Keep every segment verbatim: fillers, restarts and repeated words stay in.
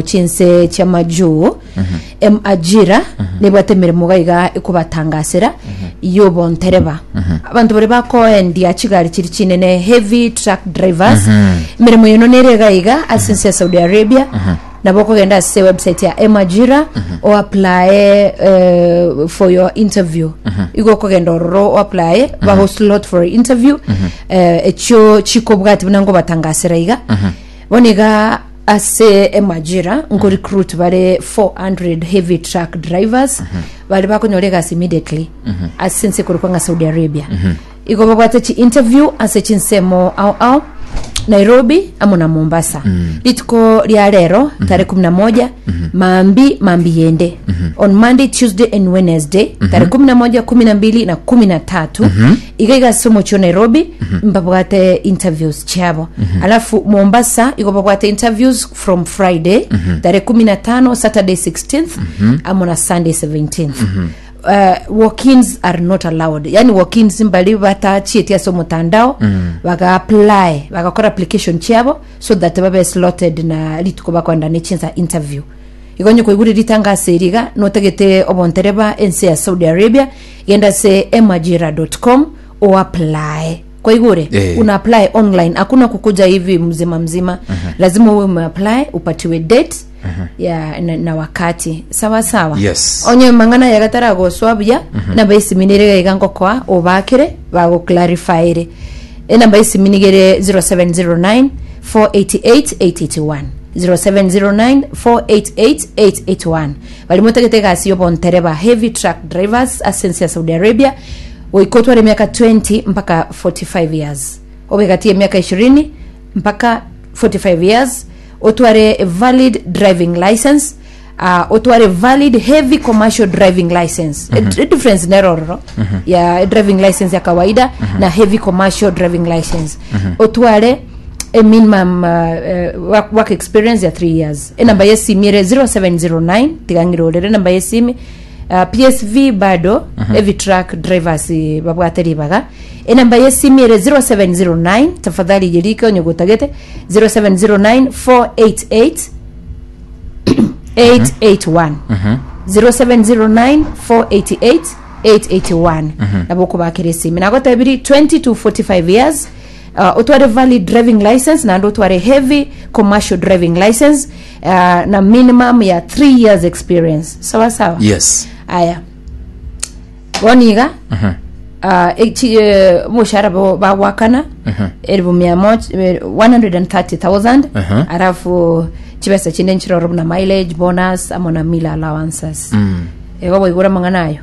Chinse chi'amajuu em ajira nebwate emeremo iga iga ekobatangasera y'obontereba, abanto baria bakoendia chigari chiri chinene, heavy truck drivers. Emeremo eno nere iga iga ase ense ya Saudi Arabia. Nabo okogenda ase website ya Emajira o apply eh, for your interview. Igo okogenda ororo o apply, bago slot for interview eh, echio chikobwati buna ngobatangasera iga. Bono iga ase Emajira nko recruit bare four hundred heavy truck drivers bari bakonyora egasi immediately ase ense ekorokwa ng'a Saudi Arabia. Igo babwate chi interview ase chinsemo ao ao, Nairobi amo na Mombasa, rituko ria rero tarehe kumi na moja, mambi mambi yende, on Monday, Tuesday and Wednesday, tarehe kumi na moja, kumi na mbili na kumi na tatu, iga iga ase omochie o Nairobi mbabwate interviews chiabo. Alafu Mombasa igo babwate interviews from Friday tarehe kumi na tano, Saturday sixteenth amo na Sunday seventeenth. uh, walk-ins are not allowed, yani walk-ins mbali batachieti ase omotandao baga apply, bagakora application chiabo so that babe slotted na rituko bakwenda ne chinsa interview. Igo onye koigure ritangasa eri iga notagete obontereba ense ya Saudi Arabia, genda ase emajira dot com o apply. Kwaigure? Eh. Una apply online, hakuna kukuja hivi mzima mzima. Lazima uwe umeapply, upatiwe date ya na, na wakati. Sawa sawa? Yes. Onye mang'ana yagatara buya, namba isiminire iga ngokoa obakire bagoclarifyire. Enamba isiminigere zero seven zero nine four eight eight eight eight one, zero seven zero nine four eight eight eight eight one. Bari motagete egasi y'obontereba, heavy truck drivers ase ense ya Saudi Arabia, goika otware emiaka twenty mpaka forty-five years, obe gati ya emiaka ishirini mpaka forty-five years, otware a valid driving license, uh, otware valid heavy commercial driving license. mm -hmm. Difference nerororo mm -hmm. ya driving license ya kawaida mm -hmm. na heavy commercial driving license. mm -hmm. Otware a minimum uh, uh, work, work experience ya three years. Enamba yesimi ere zero seven zero nine, tigang'irorere enamba yesimi. uh, P S V bado mm -hmm. heavy truck drivers, eh, babwate ribaga. Enamba yesimi ere zero seven zero nine, tafadhali yerike onye gotagete, zero seven zero nine four eight eight eight eight one, zero seven zero nine four eight eight eight eight one. Nabo okobakera esimi. Nagotebiri twenty to forty-five years, uh, otware valid driving license naende otware heavy commercial driving license, uh, na minimum ya three years experience. Sawa sawa? Yes. Aya, bono iga uh, echi, eh, omoshahara bo bagwakana elfu mia moja, eh, one hundred thirty thousand. Mhm. Alafu chibesa chinde nchiroro buna mileage bonus amo na meal allowances. Mm. Ego boigura mang'ana ayo.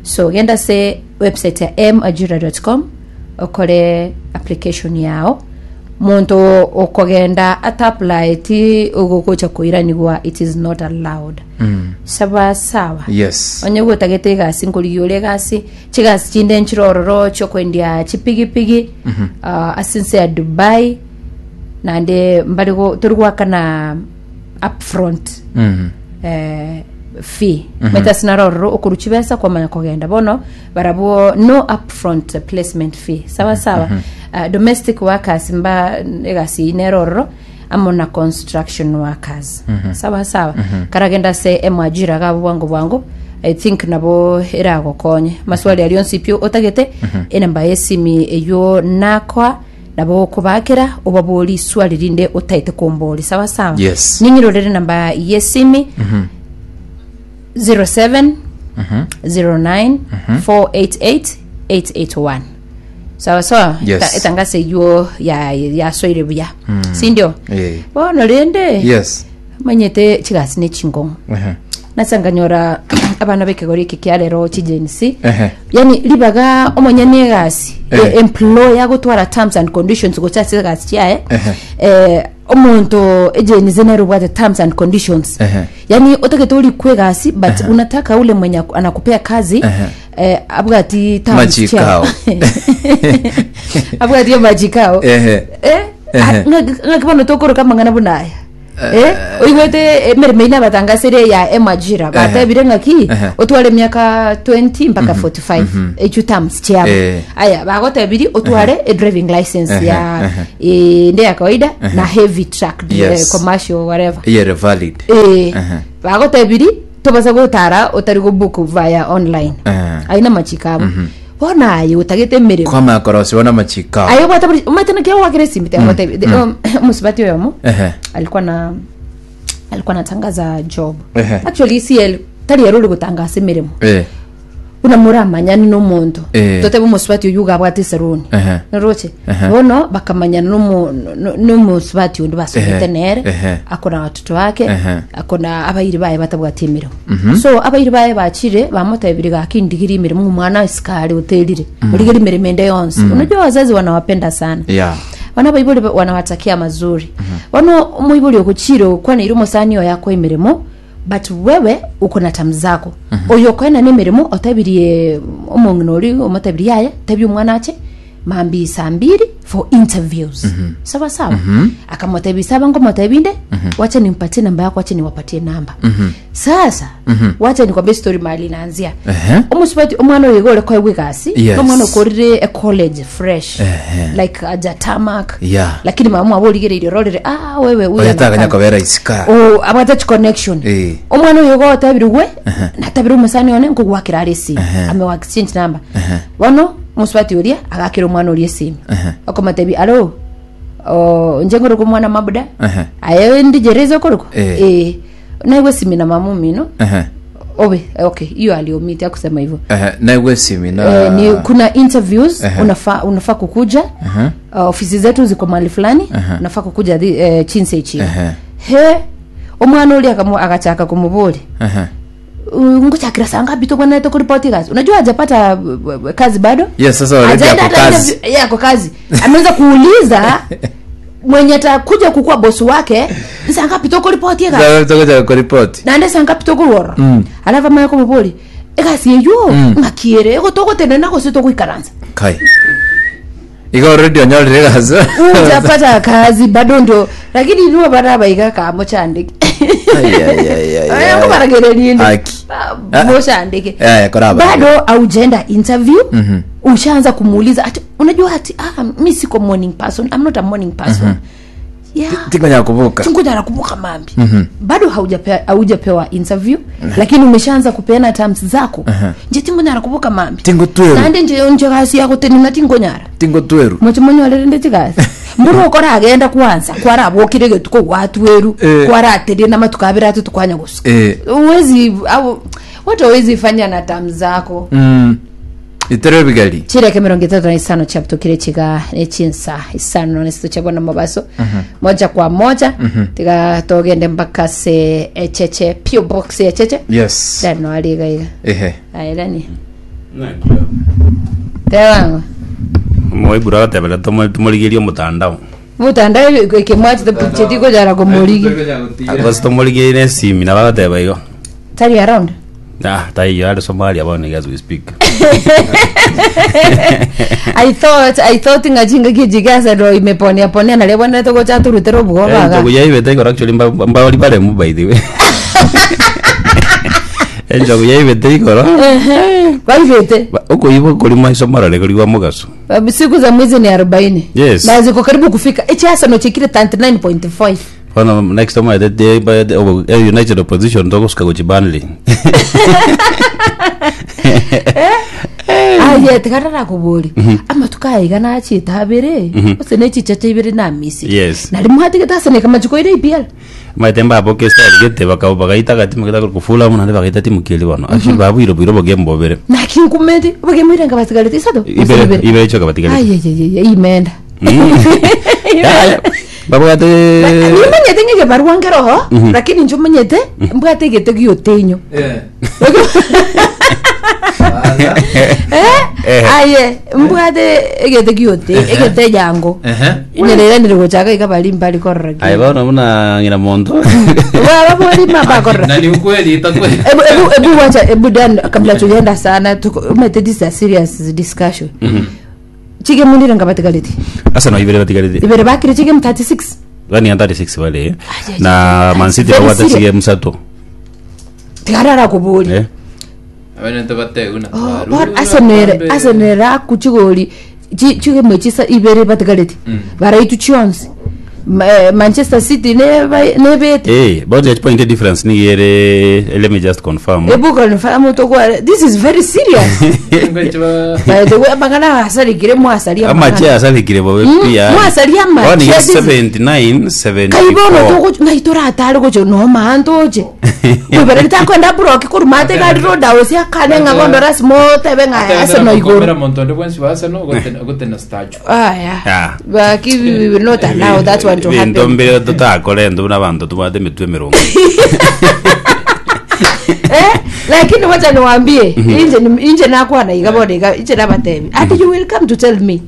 So genda se website ya majira dot com okore application yao. Muntu okogenda ata ti ogogocha koiranigwa, it is not allowed. Mm. Sawa sawa? Yes. Onye gotagete egasi, nkorigia ore egasi, chigasi chinde nchirororo chiokwendia chipigipigi uh, ase ense ya Dubai, naende mbari go- tori gwakana upfront Mm. eh, fee. mm -hmm. Maita sinarororo okoru chibesa kwamanya kogenda. Bono barabwo no upfront placement fee. Sawa sawa? mm -hmm. uh, domestic workers mba egasi nerororo amo na construction workers. mm -hmm. Sawa sawa? mm -hmm. Karagenda se Emwajira gabo bwango bwango, I think nabo eragokonye maswali ario onsi pio otagete. mm -hmm. Enamba yesimi eyo nakwa, nabo okobakera obabori swali rinde otaete kombori. Sawa sawa? Yes. Ning'irorere namba yesimi, zero seven zero nine four eight eight eight eight one. Sawa sawa? Yes. Eta- etangasa eywo ya yasoire buya, sindio? Eh. Bono rende Yes. manyete chigasi ne chingong'o. Ehe. Nasanganyora abana bekegori eke kia rero, chi Gen Z, Ehe. yani ribaga omonyene egasi, Eh. e- employer gotwara terms and conditions gocha ase egasi chiaye, Ehe. eh, omonto e Gen Z nere obwate terms and conditions. Ehe. Yani otagete orikwa egasi, but unataka ule mwenye aku- anakupea kazi Ehe. eh, abwati terms. Machikao. Abwati amachikao. Ehe. Eh, Ehe. ng'aki bono tokoroka amang'ana buna aya? Eh, oigwete emeremo ine abatangasire ya emajira batebire ng'aki Ehe. otware emiaka twenty mpaka forty-five echu terms chiabo. Eh. Aya bagotebiri otware a driving license Ehe, ya ehe. eh, nde ya kawaida na heavy truck, eh, Yes. commercial, whatever. Iyere valid. Eh, Ehe. bagotebiri tobasa gotara otari gobook via online. Eh. Aina machikabo bona aye utagete emeremo. Kwama korosiwa na machika. Ayo bwata buri umatana kia wakire simite mm. um, musibati oyomo Ehe. alikuwa na alikuwa anatangaza job. Ehe. Actually C L tari yaruri gutangasa emirimo. Eh. Una muramanyani n'omonto. Eh. Totebe omusubati oyu gabwate eseruni. Ehe. Noroche? Ehe. Bono bakamanyana n'omu- no- n'omusubati undi basomete Ehe. nere. Ehe. Akona watoto wake. Ehe. Akona abairi baye batabwate emirimo, so abairi baye bachire bamotebire gaki ndigiri emirimo omwana isikari oterire origeri emirimo ende yonsi. Unajua wazazi wanawapenda sana. Yeah. Bana baibori ba- wanawatakia mazuri. Bono omoibori ogochire okwanire omosani oyo akwa emirimo, but wewe uko na tamu zako. Oyo okoena na emirimo otebirie omong'ina ori omotebirie yaya tebia omwana ache mambi saa mbili for interviews. Sawa sawa. Akamotebia saba ngomotebinde wacha nimpatie namba yako, wacha niwapatie namba. Sasa wacha nikwambie story mahali inaanzia. Ehe. Omusubati omwana oyo iga ore koegwa egasi. Yes. Omwana okorire e college fresh, Ehe. like aja tamak. Yeah. Lakini mama abo origereirie ororire, ah, wewe huyu Oyataganya anafanya. kobera isika. O abwate connection. Eh. Omwana oyo iga otebire gwe natabire omusani one nkogwakira are esimu. Ehe. Amewa exchange number. Bono omusubati oria agakira omwana oria esimu. Ehe. Okomotebi alo o nje ngoroko omwana mabuda. Ehe. Aye ndijereza okoroko. Eh. Eh, naigwe simi na mama omino. Ehe. Obe okay, hiyo aliomit akusema hivyo. Ehe, naigwe simi na Eh, ni kuna interviews. Ehe. Unafaa unafaa kukuja. Ehe. uh, ofisi zetu ziko mahali fulani. Unafaa kukuja thi, eh, chinse ichi. Ehe. He omwana uli akamu akachaka kumubuli, Ehe. "Nguchakira saa ngapi tokwanete kuripoti kazi?" Unajua hajapata uh, kazi bado. Yes, sasa already Hajaenda ako hata kazi. interview- yeye ako kazi, ameanza kuuliza mwenye atakuja kukua bosi wake saa ngapi tokuripoti kazi. Sasa tokoja kuripoti. Nande saa ngapi tokurora. Alafu amanye kumubuli egasi eyo ng'akiere ego togotenena gose togoikaransa. Kai. Iga already onyorire gasi. Ujapata kazi bado ndo lakini niwo barabaiga kamochandike. Ai, ai, ai, ai, ai. Ngobaragererie. Aki. Ah. Mochandike. Eh, koraba. Bado aujaenda interview, ushaanza kumuuliza ati unajua ati ah, mi siko morning person, I'm not a morning person, yeah. Tingonya kuvuka. Tingoja nakumbuka mambi. Bado haujapewa haujapewa interview, lakini umeshaanza kupeana terms zako. Nje tingonya nakumbuka mambi. Tingo tweru. Nande nje nje kasi yako tenina tingonyara. Tingo tweru. Mochimonyorere nde chigasi mburu okora agenda kwanza kwarabokire getuko gwatweru. Eh. Kwaraterie na matuko abere atu tukwanya gusuka. Eh. Uwezi au watu hawezi fanya na terms zako. Mm. Itere bigali. Chireke mirongo itatu na isano chaptukire chiga echinsa isano nesito chabona mabaso moja kwa moja tiga togende mpaka se echeche P O box echeche. Yes. Dano aliga iga. Ehe. Airani tewango. Moibura gatebera tumorigerie omotandao. Mutandao ikemwachi chetiko jara kumurigi. Agosi tumorigerie nesimi na bagateba igo. Tari around. Ah, taiyo ari Somalia bono as we speak. I thought I thought ngachinga kijigasa ndo imeponea ponea na lebona toko chaturutero bugo baga. Enjogu yaibete igoro actually mba- mbawori baremu by the way. Enjogu yaibete igoro. Waivete. Ba- Ukoiba kuri maiso marore kuri wa mugaso. Siku za mwezi ni arobaini. Yes. Na ziko karibu kufika echiasa chekire thirty-nine point five. Bono next time I did United Opposition togosuka guchi Burnley. Aye tikarara kubori amatuko aiga nachita abere ose nechichacha ibere namisi. Yes. Nari muhatigete aseneka machuko ire E P L. Maite mbabo ke style gete bakabo bagaita gati mugeta kufula muno bagaita timu keli bono. Actually babu iro biro boge mbobere. Nakinkumeti bagemwirenga batigarete isato. Ibere ibere choka batigarete. Ayeyeye imenda. Babwate Nimanyete ng'ege barua ngeroho lakini inche omanyete mbwate egete giotenyo. Eh. Eh, aye mbwate egete giote egete yango. Ehe. Nyereranire gochaka iga bari mbari korora. Ai bono muna ngina mondo. Baborima bakorora. Na ni ukweli itakuwa. Ebu ebu ebu wacha, ebu Dan, kabla tujaenda sana tuko umete, this is a serious discussion. Chige munire ngabatigaleti. Asa no ibere batigarete. Ibere bakire chige thirty-six. Bani ya thirty-six bale. Ai, ai, Na ai, Man City very babwate serious. chige musato. Tigarara kubori. Eh. Abanto bateguna. Oh, but Arsenal Arsenal akuchigori chige chisa ibere batigareti baraitu chionsi. Ma- eh, Manchester City neba nebete. Eh, but the point difference ni yere, let me just confirm. Ebu confirm to, this is very serious. By the way, magana asarigire, mwasaria. Amache asalikire bobe Mm, pia. mwasaria amache, Oni this is- seventy-nine seventy-four. Kaibono tugo naitora gocho no mantoje kwibere litakwenda buroki kurumate gari roda osi akane ng'abondo rasimo tebe ng'a Arsenal igoro. Monto ndi bwensi wa Arsenal gotena statue. Aya. Ah. But we will not allow that one to Bintu happen. mbere tutakora endu n'abantu tubate emitwe emirongo. Eh, lakini wacha niwaambie, inje ni- inje nakwana iga bona iga inje nabatebi ati you will come to tell me.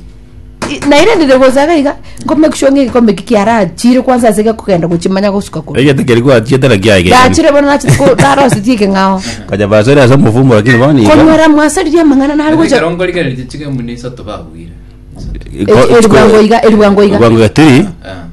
I- na ile ndiregozaga iga ngo make sure ngikombe kikiara chiri kwanza sike kugenda kuchimanya gusuka ko. Egete keri gwachietera kiage. Ndachire bona nachi ko darositiike ng'ao. Kaja basore ase omufumo lakini boni. Konyora mwasaririe mang'ana nari gocha. Erongo rigererie chige mune isato babwire. Eribwango iga, eribwango iga. Bwango ya three.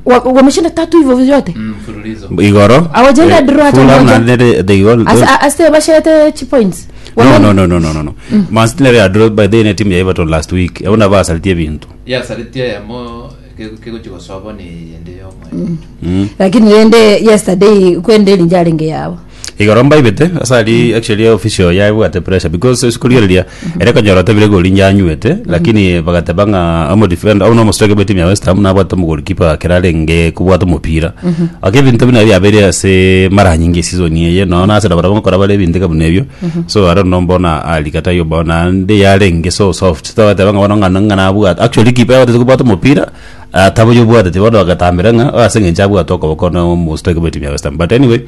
Wa- wameshinda tatu hivyo vyote. Mfululizo. Igoro. Hawajaenda draw hata Fulham moja. na nere they all. Asa- ase bashete chi points. No, no, no, no, no, no, no. Man City nere ya draw by the team ya Everton last week. Abona basalitie bintu. Yasaritie yamo kegochigosobo ni yende yomwe. Lakini rende yesterday kwende linjarenge yabo. Igoro mbaibete asali actually official yaibwate pressure because sikurigereria ere konyora tebire goli nyanywete, lakini bagateba ng'a amo defender au no striker be team ya West Ham nabwate mu goalkeeper kerarenge kubwata umupira ake bintu bina byabere ase mara nyingi season yeye no na asada barabona bare bintu kabuna ebyo. So I don't know mbona alikata yo bona ndi yarenge so soft tabateba ng'a bona ng'a ng'a nabwate actually keeper yabwate kubwata umupira atabo yobwate tibono bagatambira ng'a ase ng'encho abwate okoboko no mu striker be team ya West Ham. But anyway,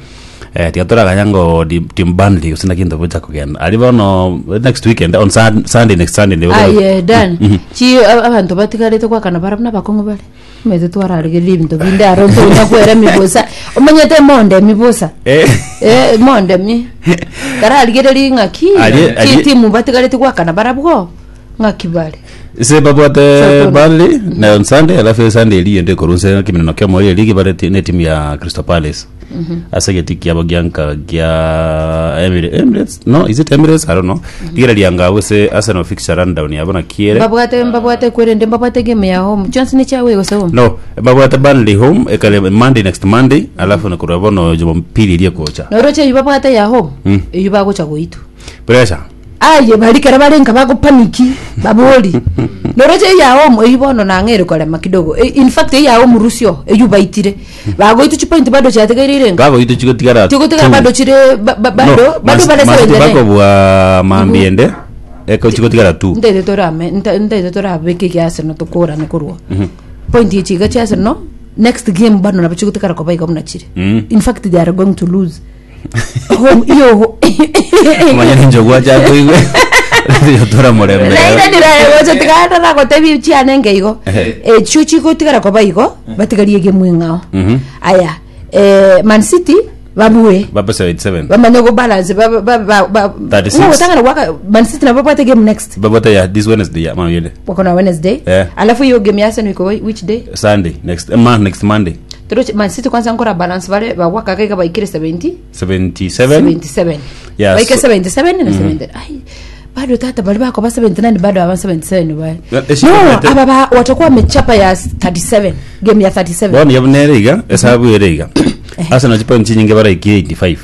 eh tigatoraganya ngo di- team Burnley usina kinto bucha kugenda ari bono next weekend on Sun- Sunday, next Sunday ndio. Aye dan chi a- abantu batigarete kwakana bara nabakong'o bare mete twararigereria ebinto binde aro ntonya kwera emibusa omanyete monde emibusa. Eh. Eh, monde mi kararigereria ng'aki Arie- chi arie- timu batigarete gwakana barabwo ng'aki bare. Se babwate Southampton. Burnley na on Sunday, alafu Sunday eri ende korunse kiminano kya mori ligi bare ti- ne timu ya Crystal Palace ase geti kiabo gianka gia Emirates. Emirates, no, is it Emirates? I don't know. Tigera nga wese Arsenal fixture rundown yabona kiere. Mbabwate mbabwate kwerende mbabwate game ya home chance ni chawe gose home. No, babwate Burnley home ekale Monday, next Monday, alafu nakurwa bono Jumapili iri kocha. Noroche eyu babwate ya home. Mm. Eyu bagocha goitu. Pressure. Aye barikara barenga bagopaniki babori noroche ya home eyu bono nang'ere korema kidogo. E, in fact eya home rusio eyu baitire bagoitu chipoint bado chiatigaire renga. Gago itu chikotigara. Chikotigara bado chire ba- ba- bado bado bare bako seventy-nine. bwa mambiende eko chikotigara tu. Ndete torame ndete torabeke kia Arsenal tukurane kurwa point ichiga chia Arsenal next game bado nabo chikotigara koba iga chire. Mm. In fact they are going to lose home iyo. Manya njogwa chako igwe yotora murembe. Naira tigana nagotebi chianenge igo. Ehe. Echio chigotigara koba igo batigarie game ng'ao. Mhm. Aya, eh, Man City babue baba seventy-seven. bamanye go balance ba ba ba ba thirty-six. Ngotangana waka Man City nabo bwate game next. Babata ya this Wednesday ya mambiende. Wako na Wednesday. Eh. Alafu hiyo game ya Arsenal iko which day? Sunday next, eh, man, next Monday. Tero Man City kwanza nkora balance bare bawaka kaiga baikire seventy. seventy-seven. seventy-seven. Yeah, baike so- seventy-seven na seventy. Ai bado tata bali bako ba seventy-nine bado aba seventy-seven bale. Eh, eh, No, eh, aba ba watakuwa wamechapa ya thirty-seven, game ya thirty-seven. Bono yabunere iga esabu ere iga Arsenal chipoint chinyinge baraikire eighty-five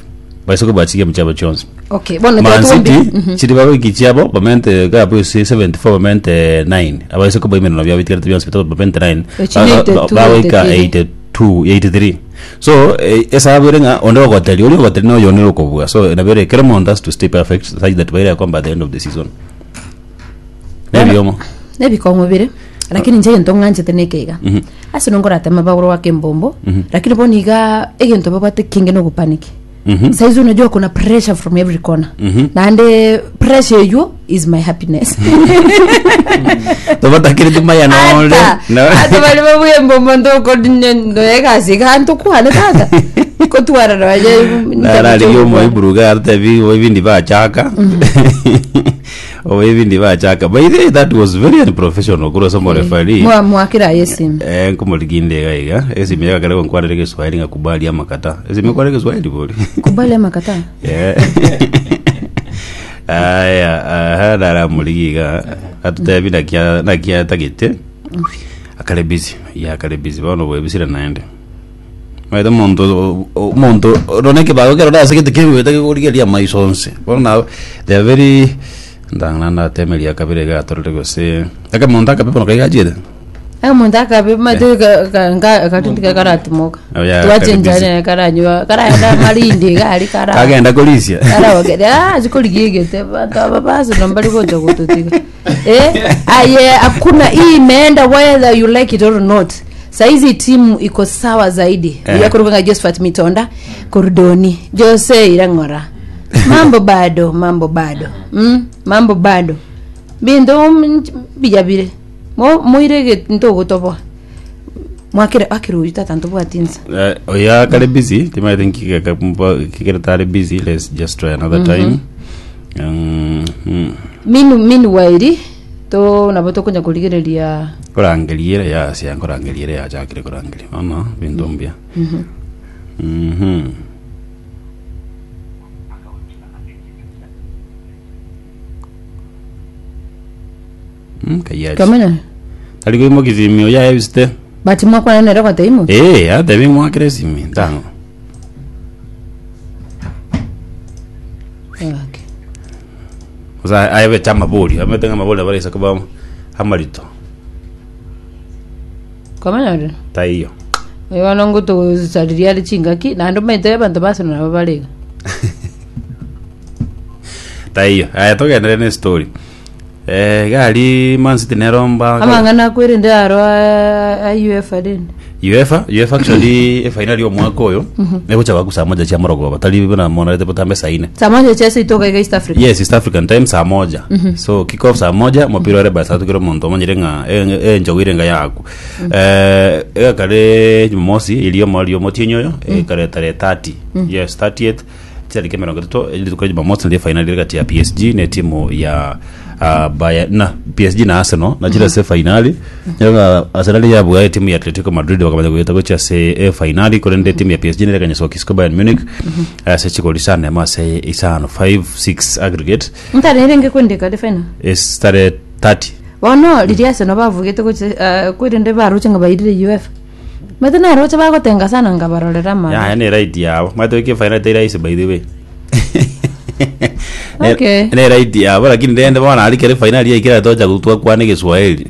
baisoko bachige muchabo chonse. Okay, bono Man tuombe. City chiri babiki chiabo bamente gabu si seventy-four bamente nine abaisoko baimenano byabo bitigara byonse bitatu bamente nine. Echi ni eighty-two, Bawaika eighty-three. eighty-two eighty-three. So eh, esabu ere ng'a onde ogoteri ori ogoteri no yonere okobua. So nabere kero month has to stay perfect such that baire kwamba at the end of the season nebiomo. Nebikong'o bire lakini nche gento ng'anchete nekeiga ase nongoratema bagoro wa kembombo, lakini bono iga egento babwate kinge nogopaniki. Mhm. Saizi unajua kuna pressure from every corner. Mhm. Naende pressure eyo is my happiness. Tobatakiri tumaya nonde. Ata ata bali babuye mbombo ntokodinyendoegasi kantu kwane tata kotwarana baje. Nararigia omoiburuga atebi ibindi bachaka. Obaibindi bachaka. By the way, that was very unprofessional kuro somo referee. Mwa- mwakira yesimu Eh, nkumuriginde iga iga. Esimi yakare nkwarire Kiswahili ngakubali amakata. Esimi kware Kiswahili bori. kubali amakata Yeah. Aya, aha ndaramurigiga. Atutebi nakia nakia tagete. Akare busy. Ya akare busy bono bwebisire naende. Maitha omonto omonto roneke bago kero dasegete kebwete kegorigeria maiso onse. Bono na they are very ndang'ana ndatemeria kabere gatorere gose. Aka monto akape bono kaigachire. Omonto akabe mate katindika karatimoka Oh, yeah, twachenjana karanywa karaenda marindi gari kara Kagenda korisia. karawagera zikorigigete bantu aba basi nombari gocha gututiga eh aye hakuna hii imeenda whether you like it or not saizi timu iko sawa zaidi Eh. eh. yakuruganga Josephat Mitonda Kordoni Jose Irang'ora mambo bado mambo bado mm, mambo bado bintu mm, bijabire mo moirege ntogotoboa mwakire akiruyu tata ntobwatinsa Uh, oya kare busy tim I think kikere busy let's just try another time um, mm. minu minu wairi to nabo tokonya kurigereria kurangeliere ya sia kurangeliere ya chakire kurangelia mama bintu mbia mhm Mm, kayaji kamenya tali kuimo kizimio ya ebiste but mwakwana nere kwate imo eh ate bimwakire simi ntango okay. Osa aebe chama bori ametenga mabori abarisa kuba amarito kamenya ri taiyo oyo ngo tugusariria ari chingaki naende maite abanto basino nabo barega taiyo aya togendere ne story eh gari Man City neromba amang'ana akwirinde aro a UEFA rinde UEFA UEFA actually e final yo mwaka oyo negocha baku saa moja chia morogoba tali bana mona rete potambe saa ine samoja chese itoka iga East Africa yes East African time saa moja so kick off saa moja mupira ore by saa tukiro muntu omanyire ng'a e njogire nga yaku eh egakare Jumamosi iliyo mwario motinyo yo ekare tarehe thirty yes thirtieth tariki mirongo itatu rituko rĩa Jumamosi nĩ final ĩrĩ gati ya P S G na timu ya uh, Bayern na P S G na Arsenal na njira se finali nyoga Arsenal yabwa timu ya Atletico Madrid wakamanya gwita gocha se e finali kurende timu ya P S G nerekanya Kisco Bayern Munich uh, se chikoli sana ma se isano five six aggregate ntarerenge kwendeka de final is tarehe thirty bono riria Arsenal bavugite goche kwirinde baruche nga bairire UEFA mate naroche bagotenga sana ngabarorera ma ya ne right yabo mato ke final te raisi by the way. Okay. Ne right yabo lakini ndende bona ali kere final ya ikira toja gutwa kwa ne Kiswahili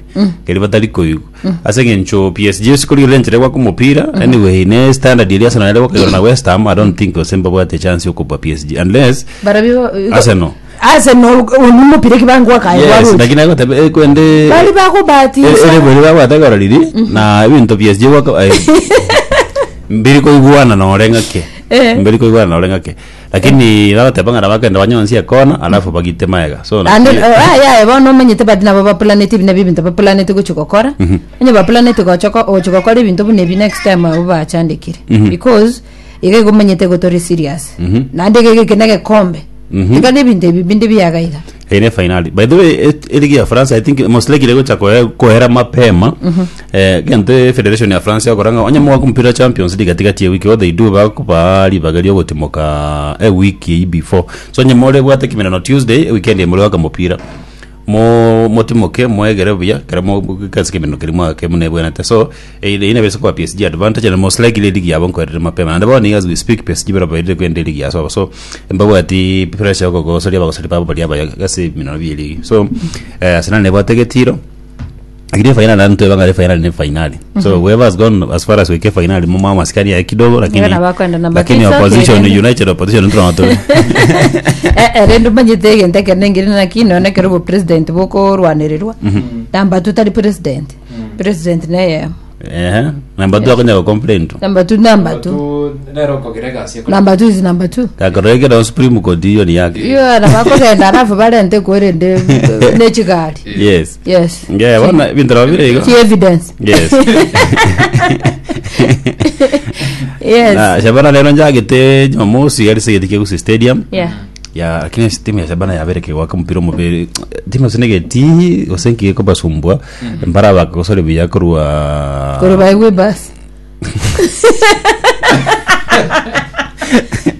keri batari koigu ase ngencho P S G sikuri lenjere kwa kumupira anyway ne standard ili Arsenal ile kwa na West Ham. I don't think Osemba bwate chance yokupa P S G unless barabi Arsenal. Arsenal unumupire kibangwa kae Yes, waruche lakini ako tabe kwende bali bakubatisa ere bwere babwataga riri na ebinto P S G gwaka mbiri koiguana na oreng'ake Eh. mbiri koiguana na oreng'ake lakini bagateba ng'ara bakenda banyonsie kona alafu bagite maega so and aya bono omanyete badi nabo bapulanete bina bibinto bapulanete gochi gokora onye bapulanete gochoko ochi gokora ebinto buna ebi next time abo bachandikire because iga igo omanyete gotori serious naende iga geke na gekombe Mhm. tiga na ebinto ebi binde biagaiga ene finali by the way et- eligi ya France I think most likely gocha koe- kohera mapema eh gente federation ya France yakoranga onye mwa kumpira Champions League katikati ya wiki what they do bakupa libaga lyo gutimoka a week iyi before so onye more bwate kimirano Tuesday weekend emure waka mupira mo motimoke mwegere buya kare mo kasi kimirano kiri mwake mune bwenate so eh, ine bese kwa P S G advantage and most likely league yabo nkoerere mapema and about as we speak P S G bara baire kwende league yaso so mbabu ati pressure yoko gosoria bagosori babo bari abaya gasi minano bili so eh, Arsenal nebwate getiro lakini final na mtu banga final ni final so whoever has gone as far as weke final mama maskani ya kidogo lakini Ngana bakwenda namba lakini tisa, okay, opposition then. United opposition ntro rendo manyete egento ekere ngire naki none ekero bo president bokorwanererwa namba two tari president president neye eh namba two akonya ko complain tu namba two namba two nero kogirega sieko namba two is number two. Kakoreke na Supreme Court hiyo ni yake. Iyo nabakogenda alafu barente kwerende nechigari. Yes. Yes. Yeah, bona bintu rabire igo. Chi evidence. Yes. Yes. Na Shabana lero njagite Jumamosi gari sigiti Gusii Stadium. Yeah. Ya, lakini timu ya Shabana yabereke gwaka mpira omobere timu sinegeti gose kobasumbwa mbara bakosore buya korwa Koro baigwe basi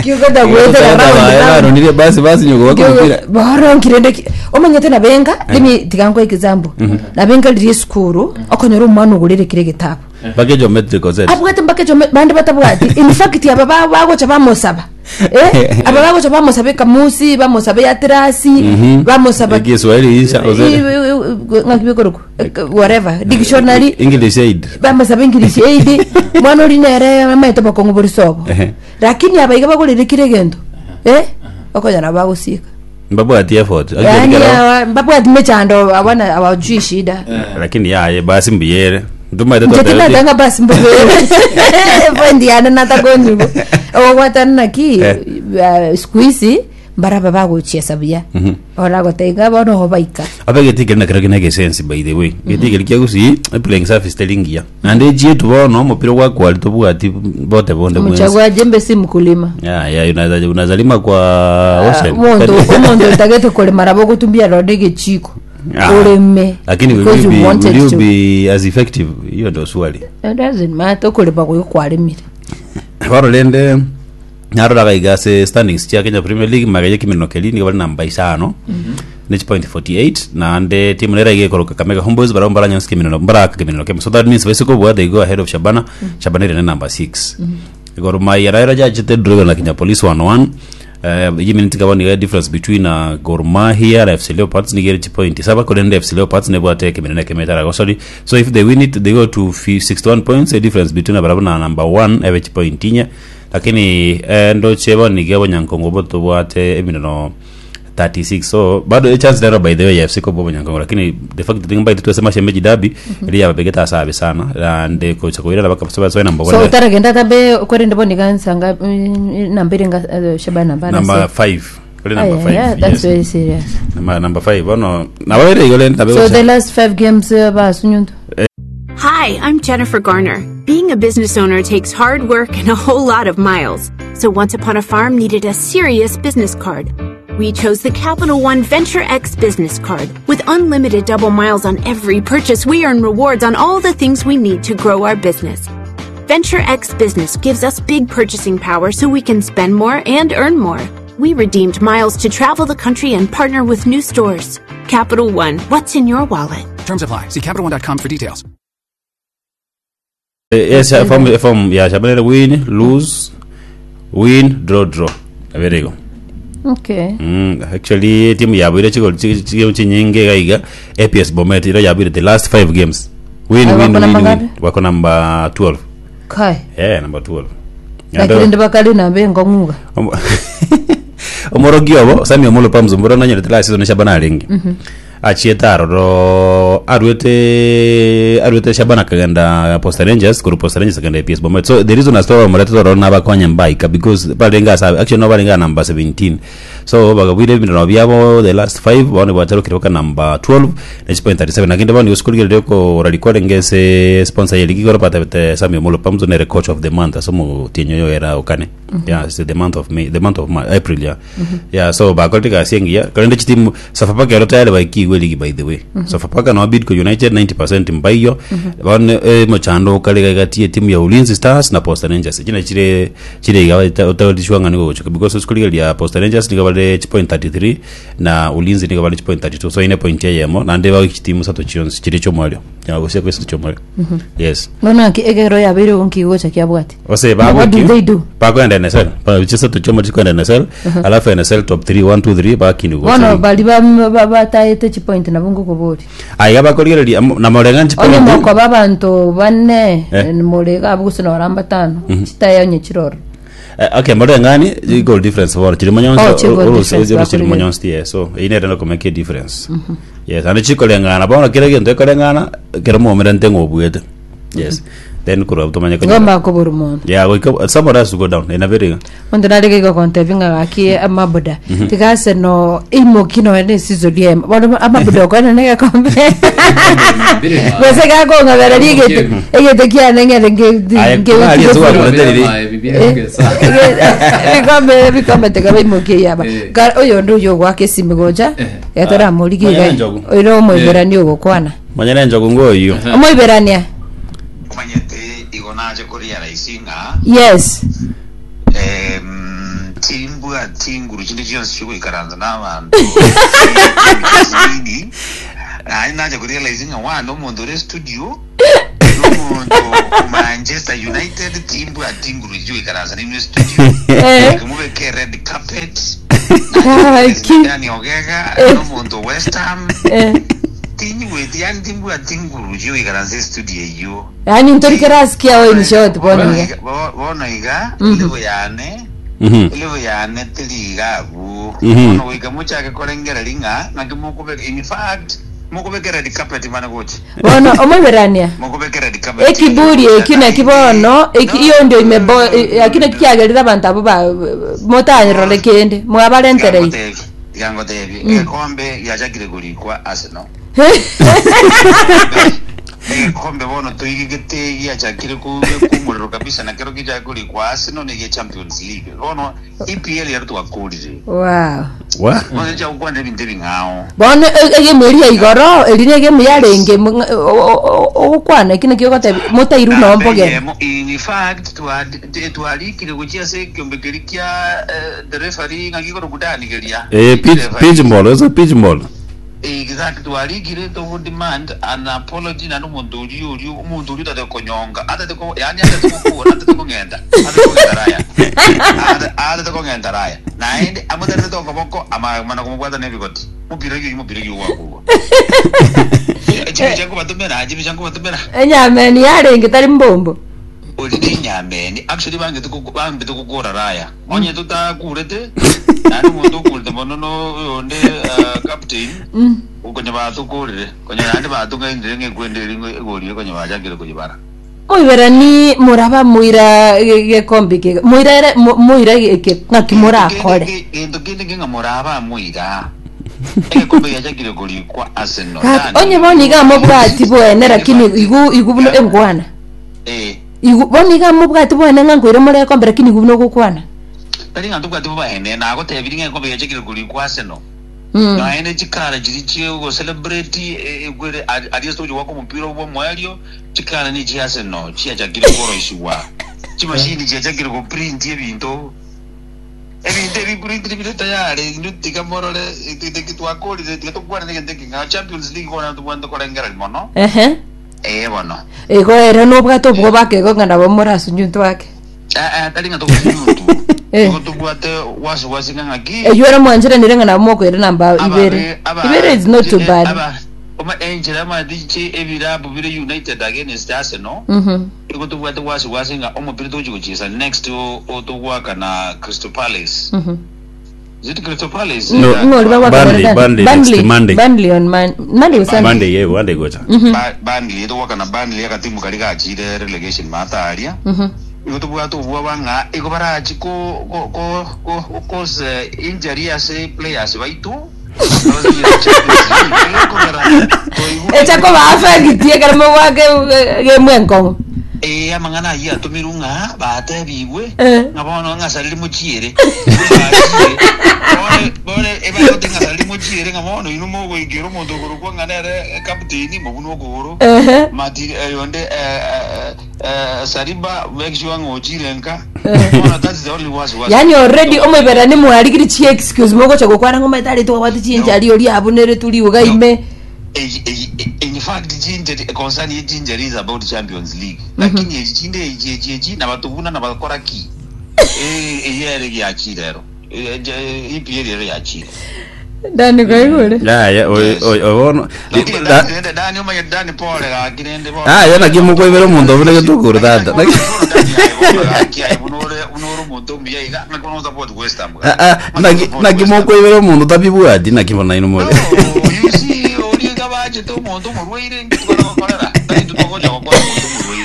kiugota gwetera round round. Baronire basi basi nyoko wako mpira. Baronkire omanyete nabenga lemi tigankwa example, nabenga riri esukuru okonyora omwana ogorere kire getabu bake geometrical set. Abwate mpaka echo bande batabwati. In fact, aba ba- bagocha bamosaba, eh aba bagocha bamosaba ekamusi, bamusaba ya terasi, bamusaba Kiswahili isha ozere. Ng'aki bikoroku, whatever, dictionary. English aid. Bamusaba English aid. Mwana ori nere amaete bokong'u bori sobo. Ehe. Lakini abaiga bagorere kire egento, eh okonyora bagosika. Mbabwati effort. Yani awa- babwati mechando, awana hawajui shida. Lakini yaye basi mbiyere ntumaite. Njetinatanga basi mbubere point yane natakonibo ogwatana naki. Eh. uh, siku hizi mbaraba bagochiesa buya oragotaiga bono oho baika. Abe getikeri nakero kina gesense, by the way, getikeri kia gusi playing surface telingia nande chietu bono omupira gwakwari tobwati bote bonde bwensi. Mchagua jembe si mkulima. Ya ya unaweza unazalima kwa ocean. Omonto omonto otagete kurima rabo gutumbia ronde gechiko Ah. urime. Lakini will because you you be, wanted will you to. be as effective? Hiyo ndio swali. It doesn't matter, okurima gwe kwarimire. Barorende naroraga igase standings chia Kenya Premier League magaye kiminino keri nigo bari namba isano nich point forty-eight, naande timu nera igekoroka Kakamega Homeboys barao baranyonsi kiminino baraka kiminino kemo, so that means basically bwa they go ahead of Shabana. Shabana ire number six. Gor Mahia raira jachete draw na Kenya Police one one. Uh, iyi minute kabona ni difference between uh, Gor Mahia na F C Leopards ni geri point saba kolende. F C Leopards ne bwate kiminene kemetara go, sorry. So if they win it, they go to fi- sixty-one points, a difference between abarabo na number one ebe point inya. Lakini eh, ndo chebo ni gebo nyankongo boto bwate emineno thirty-six, so bado a chance there, by the way, ya F C ko bobo nyankongo. Lakini the fact that ngbai twesema shemeji dabi ili ya begeta sabe sana and coach ko ila baka so number So one. utaragenda tabe korende bonika nsanga nambere nga eh, Shabana bana. Number five kuri number five. Yeah, that's Yes. very serious. Number number five bono nababere igole ndabe. So the last five games uh, basunyundu. Hi, I'm Jennifer Garner. Being a business owner takes hard work and a whole lot of miles. So Once Upon a Farm needed a serious business card. We chose the Capital One Venture X business card. With unlimited double miles on every purchase, we earn rewards on all the things we need to grow our business. Venture X Business gives us big purchasing power so we can spend more and earn more. We redeemed miles to travel the country and partner with new stores. Capital One, what's in your wallet? Terms apply. See Capital One dot com for details. Yes, form form ya Shabana: win, lose, win, draw, draw. Very go. Okay. Mm, actually timu yabwire chigoli chigemu chinyinge gaiga A P S Bomet ira yabwire the last five games win Ah, win wako win namba win. ngapi? Wako number twelve. Kai. Yeah, number twelve. Lakini ndibakali nambe ngong'uga. Omorogi obo Sami Omolo pamzumbura nanyerete last season Shabana aringi achiete aroro arwete arwete Shabana kagenda Posta Rangers, kuru Posta Rangers kagenda A P S Bomet. So the reason as to omorete roro nabakonya mbaika because barenga sa actually no barenga number seventeen, so bagabwire ebintu byabo the last five bone bwatarukire baka number twelve na point thirty-seven. Lakini bani usikuligere ko ralikore ngese sponsor ye ligi koro pata Sami Omolo pamzo nere coach of the month asomo tinyo yo era okane. Yeah, it's the month of May, the month of May, April. Yeah, yeah, so bakoltika siengia kalende chitimu Sofapaka ero tayari baikigwe ligi, by the way. Sofapaka no Bidco United ninety percent mbaiyo bone eh, mochando kale gatie timu ya Ulinzi Stars na Posta Rangers chine chire chire igawa utawalishwa ngani gocho because usikuligelia Posta Rangers niga bale point thirty-three na Ulinzi niga bale point thirty-two, so ine point yemo na ndeba chitimu sato chionsi chire chomwalio ya gusia kwesi chomwalio. Yes. Bono ki egero yabire nkigo cha kiabwati. Ose What do they do? Bakwenda N S L pa chisa tuchoma chikwenda N S L, alafu N S L top three, one, two, three bakini. Bono bali ba- ba- bataete chipoint nabo ngokobori. Aiga bakorigereria na morenga Onye chipoint. moko babanto bane. Eh. Murega abugusina oramba tano chitaya onye chiroro. Eh, okay, morengani goal difference bora chiri manyonsi. Oh, chi goal difference chiri bakorigereria. manyonsi, yeah. So ine reno ko make a difference. Yes, and chikolengana bona kire gento ekolengana kero muomere ntengo obwete. Yes. Then kurwa tumanye kanyora. Ngomba kobura omonto. Yeah, goika somebody has to go down in a very Monto narege gokontebia ng'a gaki amaboda tiga Arsenal imoki nonya na eseason emo bono amaboda okwana na egekombe gose gakong'abera rigete egete kiane ng'ere nge- Aye, nge- aria nge- tuwa- bikombe bikombe tiga baimokie yaba Eh. Ka- oyo ndi oyo ogwaka esimi gocha Eh. getoramorigie Manyana iga njogu. oyo omoiberania ogokwana manyana njogu ngoyo. omoiberania Omanyete igo naje kurealize ng'a yes em, timbwa tinguru chinde chionsi chikuikaranza n'abantu nini naye naje kurealize ng'a wana omonto ore studio n'omonto ku Manchester United timbwa tinguru chikuikaranza nino studio Eh. kimubeke red carpet Aki. yani ogega Eh. n'omonto West Ham Eh. tinyigweti yani timbwa tinguru chikuikaranza studio eyo yaani ntorikerasikia we in short bono iga Bo- bono iga level yane Mhm. level yane tiri iga abu Mhm. bono goika mochake korengera ring'a naki mokobeka in fact mokobeka red carpet mana gochi bono omoiberania mokobeka red carpet ekiburi eki naki bono eki iyo ndio imebo akina kiagerire abanto abo ba motanyerore kende mwabarenterei tigangotebi egekombe giachakire korikwa Arsenal egekombe bono toigigete giachakire ku- kumuriro kabisa nakero gichake korikwa Arsenal nege Champions League bono E P L yari twakurire wow Wa? bono chagukwanira ebinto ebing'ao bono egemu eria igoro eri na egemu yarenge ogokwana eki nakio ogotebi motairu nomboge Yemo, in fact twarikire guchia ase ekiombe keri kia eh, the referee ng'a gikoro kudanigeria Eh pitch pitch ball, eso pitch ball. Exactly, twarikire to demand an apology na n'omonto oria oria omonto oria otate konyonga atate ko yani atate kokura atate kong'enda atate kong'enda raya Ate- atate kong'enda raya naende amoterete tokoboko ama mana komobwata na ebigoti mupira gio mupira gio gwakurwa chibi chankobatomera chibi chankobatomera enyameni yarenge tari mbombo ori ni nyameni actually bangete bambete kukura raya onye tutakurete nani omonto okurete mono no onde uh, captain ukonya batukurire konya nandi batung'ainire ng'ekwende eri egorire konya bachakire koyibara moiberani moraba moira gekombe kega moira ere- mo- moira eke ng'aki morakore gento kende king'a moraba moira egekombe giachakire korikwa Arsenal Kati, onye bono iga mobwati bwene lakini igu igu buno engwana eh igu bono iga mobwati bwene ng'a nkoire more ekombe lakini igu buno ogokwana tari ng'a ntobwati bobahene nagotebiri ng'a egekombe giachakire korikwa Arsenal Mm. naende chikara chiri chigo celebrate ekwere at least ochi gwaka omopira bwa omwerio chikara ni chi Arsenal chiachakire koroisiwa chimashini chiachakire goprint ebinto ebinto ebiprintire bire tayari indu tiga morore twakorire tiga tokwanire egento eking'ao Champions League bono tobwate korengereri mono ehe eh bono igo ere nobwate obwo bakego ng'a nabo morasunyuntu ake Eh, eh, tari ng'a togosunyuntu Eh. igo tobwate wasiwasi ng'a ng'aki eywo ere mwancheranire ng'a nabo mokoire namba ibere ibere is not too bad enchera amatichi ebirabu bire united against Arsenal Mhm. igo tobwate wasiwasi ng'a omopira togochi gochisa next o- otogwaka na Crystal Palace Mhm. Is it Crystal Palace? No. Yeah. Ng'ori bagwaka Burnley, Burnley. Burnley next Burnley. Monday. Burnley on Mon- Monday or Sunday? Monday ye Monday gocha. Ba- Burnley togwaka na Burnley agatimu kari gachire relegation mataria Mhm. igo tobwate obwoba ng'a igo barachi ko ko ko ko cause injury ase players baitu echa koba affect ekero mogwake gemwe enkong'u eh amang'ana ayio atomirwe ng'a batebigwe Eh. ng'a bono ng'asariri mochiere bone bone ebagote ng'asariri mochiere ng'a bono ino mogoikera omonto okorokwa ng'a nere captain mobuna okogoro Ehe. mati yonde eh, eh, Saliba make sure ng'a ochire nka bono that's the only was was yani already omoiberani mwarigiri chi excuse mogocha gokwana ng'o maitari twabwate chinchari ori abunere turi ugaime Eh, eh, in fact chinjeri concern ye chinjeri is about Champions League lakini echi chinde echi echi echi nabatubuna nabakora ki eh eyere gyachirero E P L ero yachire ndani kwaigure Ya ya o o bono. Lakini Dani- Dani omanye Dani pole gakirende Ah ya naki mokoibera omonto obune getukuru tata. Naki Ah ah naki naki mokoibera omonto tabibwati naki bona ino more. Omonto omorwaire ntugokorera tari tutogocha gokora omonto omorwaire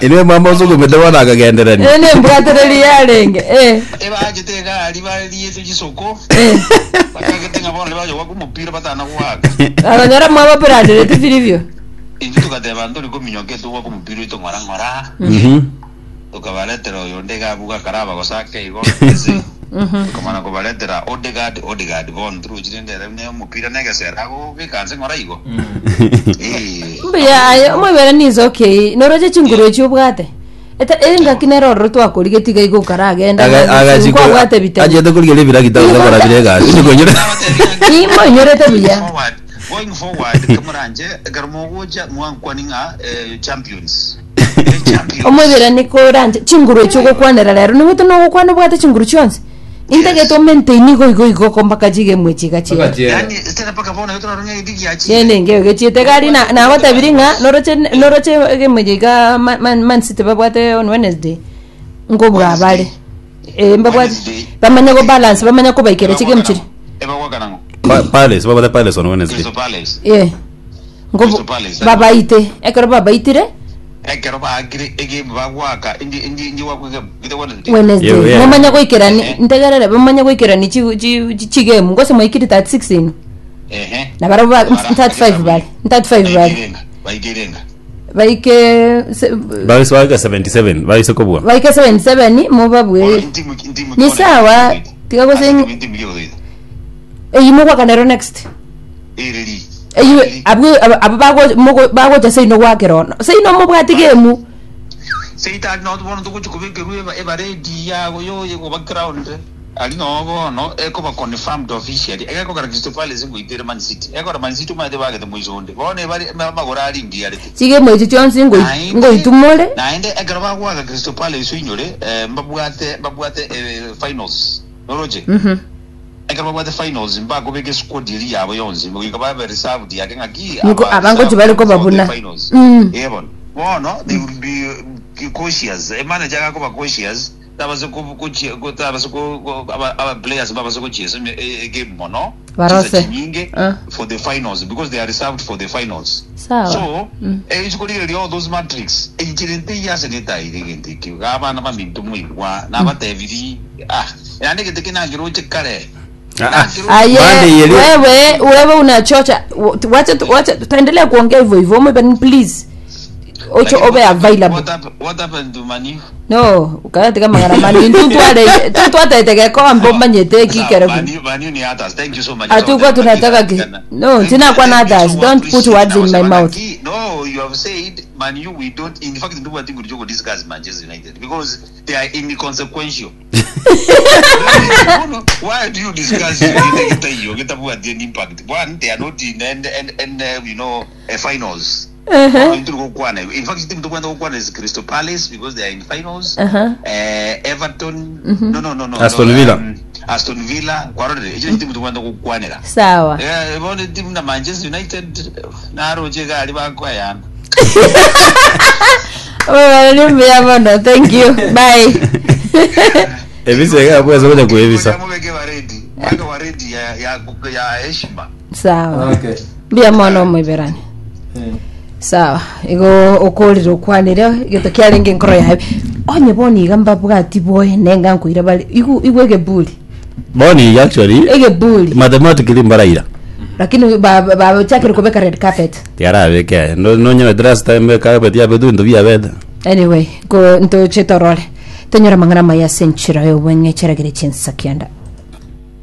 Ine mama usugumite bono akagenderania. Ene mbwatereri yarenge eh Ebachete egari bariete chisoko eh bakagete ng'a bono bayoka kumupira batana gwaka. Abanyora mwabaperanderete vilivyo. Inju tukateba nturi kuminyoka etugwa kumupira oito ng'ora ng'ora. Mhm. Tukabaretera oyo ndega abuga karaba gosake igo ese tukamana kubaretera Odegaard. Odegaard bono turuchire ndere ne omupira negesera agobikanse ng'ora igo. Eh, Mbuya aye omwibere nizo okay noroche chinguru echi obwate eta engaki nero ororo twakorigetiga igo karagenda kwabwate bitabo. Achete kurigeria ebiragita gose korabire egasi nikonyora. Nimonyorete buya. Forward, going forward kamuranje ekero mogocha mwankwani ng'a eh, champions. Eh, champions. Omwibere nikoranje chinguru echi ogokwanera rero niwete nogokwana obwate chinguru chionsi intagete omaintain igo igo igo ko mpaka chigemwe chiga chiga. Yani tena mpaka bono yotoraronga edigi yachi. Chene ngeo gechiete gari na nagotabiri ng'a noroche noroche gemwe jiga Man, Man City babwate on Wednesday ngobwa bale eh mbabwate Wednesday. bamanya go balance bamanya kubaikera chigemu chiri. Ebagwakanango. Pa- Palace babate Palace on Wednesday. Crystal Palace. Eh ngobo Crystal Palace, babaite ekero babaitire. Ekero baakire egame bagwaka indi indi indi wakwege ite Wednesday. Wednesday. Yeah, yeah. Bamanya goikerani Eh. ntegerere bamanya goikerani chi- chi- chi- chigemu ngose mwaikiri thirty-six ino. Ehe. Na barabo ba Bara- thirty-five bale thirty-five bale. Baikirenga, baikirenga. Baike se- Baise baika seventy-seven baise kobua. Baike seventy-seven mubabwe. Intimu intimu. Ni sawa, tiga gose- intimu yodoida. Eyi mugwakanero next. Iriri. Eyi abwe abo bago mugo- bagocha seino gwakero seino mubwati gemu. Seita no bono tukuchikubikerwe eba eba ready yago yo yo background. Ali no bono ekoba confirmed officially. Ekekogera Crystal Palace ngoitere Man City. Ekora Man City mate bagete muizonde. Bono ebari magora ari ngiarete. Chigemu echi chionsi ngoi- ngoitumore. Naende ekero bagwaka Crystal Palace oinyore eh, mbabwate mbabwate eh, finals noroche. Mhm. Ekero babwate finals mbakobeka esquad eri yabo yonsi goika babe reserved yake ng'aki. Niko aba abango reserved chibari for the kobabuna. finals. Mm. Eh, bono bono they will be uh, cautious, emanager akakoba cautious tabase ku- kuchi- ku- tabase ku- ku- aba aba players babase kuchiesa game mono. Barose. Chisa chinyinge Ah. for the finals because they are reserved for the finals. Sawa. So eh, ichikorire all those matrix ichiri nti yasenetaire gento ekio abana baminto moigwa nabatebiri ah yani gete kinangeroche kare. Ah, ah. Aye, Bande yeli- wewe wewe unachocha. Wacha wacha tutaendelea kuongea hivyo hivyo Mwe, please ocho obe available. What hap- what happened to Manu? No ukatika magaramani tutware tutwatete gekombe umanyite kikero. Manu, Manu ni others. Thank you so much. Hatukuwa tunataka ki- no, tena kwa na others. Don't put words in my mouth. No, you have said Manu we don't, in fact do what we do discuss Manchester United because they are inconsequential. No, no, why do you discuss United hiyo kitabu at any impact? One, they are not in and and and uh, you know uh, finals. Uh-huh. In fact, team to kwenda is Crystal Palace because they are in finals. Uh-huh. Uh, Everton, no no no no. Aston no, Villa. Um, Aston Villa, kwarore. Icho team to kwenda kukwanira. Sawa. Eh, bone team na Manchester United naroche gari bakwayana. Wewe ni mbaya mono, thank you, bye. Ebisa ebweza kuja kuebisa. Mubeke wa ready. Mwaka wa ready ya ya ya heshima. Sawa. Okay. Mbia mwana omwiberani sawa igo ukurire ukwanire gito kiarenge nkoro yawe onye boni iga mbabwati boe nenga nkuira bali igu igu egebuli. Boni actually Egebuli. Mathematically mbaraira. Lakini bachakire kubeka red carpet. Tiarabeke no no nyene last time carpet ya bedu ndo bia beda. Anyway go ntoche torore tonyora mang'ana maya senchira yo bweng'e cheregere chinsa kianda.